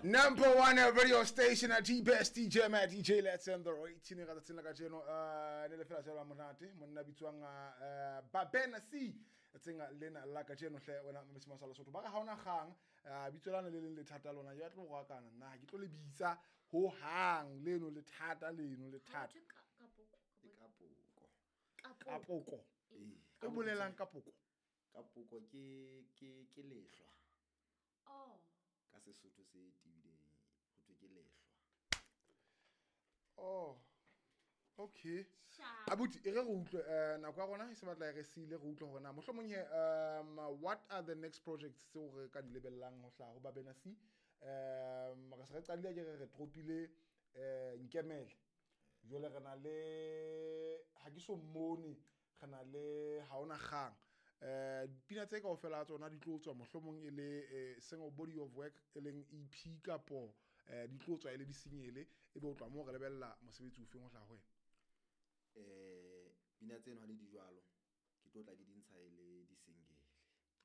Number one radio station at best DJ Matt DJ Let's end the rating ka tsatsing la kajeno ne le fela jalo monate monna bitswang Babena C tsatsing lena la kajeno hle wena mamesima sa Lesotho ba re ha ona kgang bitso lana le leng lethata lona ya tlo go akana nna ha ke tlo le bitsa ho hang leno lethata leno lethata Kapoko. Kapoko e bolelang kapoko. Kapoko ke lehlwa. Oh. Ka Sesotho se tebileng ho thwe ke lehlwa. Oh. Okay. Abuti e re re utlwe nako ya rona e se batla re sile re utlwe hore na mohlomong he what are the next projects tseo re ka di lebellang ho hlaha ho Babena C? Re se re qadile ke re tropile Nkemele. Jwale re na le ha ke so mmone re na le ha ona kgang. Pina tse kaofela tsona di tlo tswa mohlomong e le single body of work e leng EP kapo di tlo tswa e le di-single e be o tloha moo re lebella mosebetsi o feng ho hlaha ho wena? Pina tseno ha le di jwalo ke tlo tla ke di ntsha e le di-single.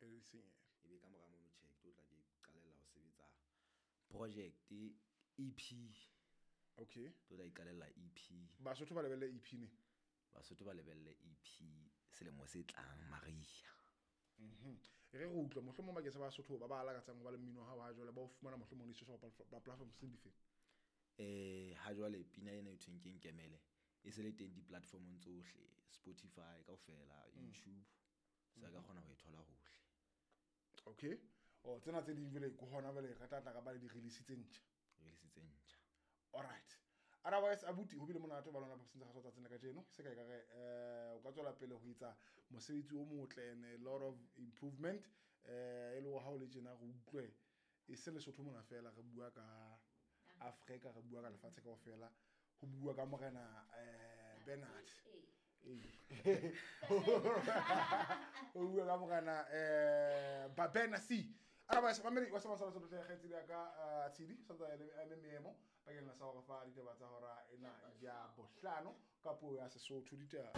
E le di-single. E be ka mora mono tjhe ke tlo tla ke qalella ho sebetsa project EP. Okay. Tlo tla iqalella EP. Basotho ba lebelle EP ne? Basotho ba lebelle EP selemo se tlang Maria. Re re utlwe mohlomong bakeng sa Basotho ba ba lakatsang ho ba le mmino wa hao ha jwale ba o fumana mohlomong di-social platforms tse dife? Ha jwale pina ena e thweng ke Nkemele e se le teng di-platformong tsohle, Spotify kaofela, YouTube, se ka kgona ho e thola hohle. Okay. Oh, tsena tse ding jwale ke hona jwale re tla tla ka ba le di-release tse ntjha. Release tse ntjha. All right. Otherwise abuti ho bile monate ba lona ba sentse ga tsatsing la kajeno se ka re o ka tswela pele ho etsa mosebetsi o motle and a lot of improvement e le ha o le tjena re utlwe e se Lesotho mona fela re bua ka Afrika re bua ka lefatshe kaofela ho bua ka morena Bernard ho bua ka morena Babena C. Otherwise mamedi wa sa Lesotho hle kgaitsedi ya ka Tshidi sa tsa le meemo bakeng sa hore fa ditaba tsa hora ena ya bohlano ka puo ya Sesotho ditaba.